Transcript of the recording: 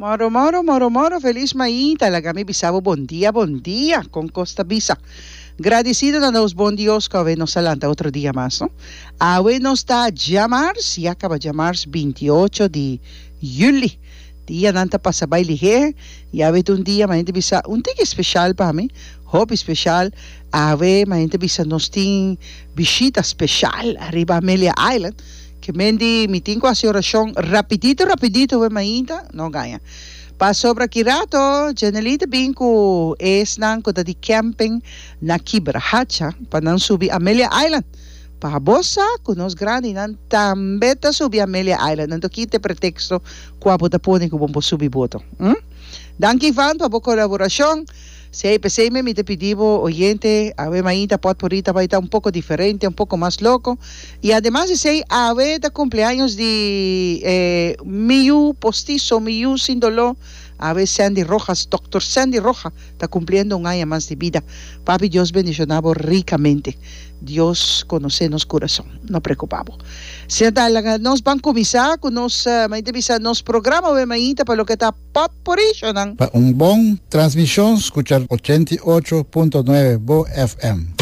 Moro moro moro moro felis mainta laga mi bisa bo bon dia bon dia con cos ta bisa gradicido na nos bon Dios cu awe nos a lanta otro dia mas no awe nos ta djamars ya caba djamars 28 di juli dianan ta pasa bay lihe y awe ta un dia ma hende bisa un tiki special pa mi hopi special awe ma hende bisa nos tin bishita special ariba Amelia Island. Ke men di mi tin ku hasi orashon rapidito rapidito we mainta no gaña. Pasobra ki rato Jenely ta bin ku esnan ku ta di camping na Kibrahacha pa nan subi Amelia Island. Pa bo sa ku nos grandinan tambe ta subi Amelia Island anto ki ta e pretexto ku abo ta pone ku bo por subi boto? Hm? Danki Ivan pa bo kolaborashon. Sey, p'esey me mi ta pidi bo, oyente, awe mainta potpourri ta bay ta un poco diferente, un poco mas loco. Y ademas di esey, awe ta cumpleaños di e mi yu postizo, mi yu sin doló, awe Sandy Rojas, Doctor Sandy Roja, ta cumpliendo un aña mas di bida. Papi Dios bendiciona bo ricamente. Dios conoce nos curason, no preocupa bo. Asina ta, laga nos ban cuminsa cu nos, mainta bisa, nos programa awe mainta pa loke ta. Potpourri-shonan. Pa un bon transmishon skucha 88.9 Bo FM.